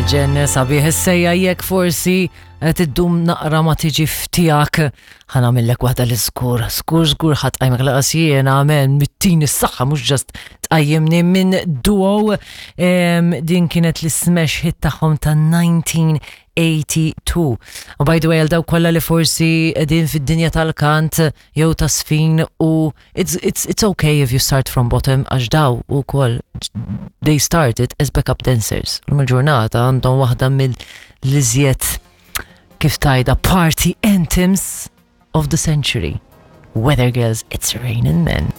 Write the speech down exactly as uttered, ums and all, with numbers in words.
Ġen sabiħ issejja jekk forsi qed iddum naqra ma tiġi f'tiegħek ħa nagħmillek waħda li żgur, żgur żgur ħa tqajmek lanqas jiena men mittini s-saħħa mhux just tqajjimni minn duo em, din kienet l-smash hit tagħhom ta' nineteen eighty-two. U by the way, għal dawk kollha li forsi qegħdin fid-dinja tal-kant jew taż-żfin u it's, it's, it's okay if you start from bottom għax dawn ukoll they started as backup dancers. Illum il-ġurnata għandhom waħda mill-iżjed kif tgħidha party anthems of the century. Weather Girls, "It's Raining Men."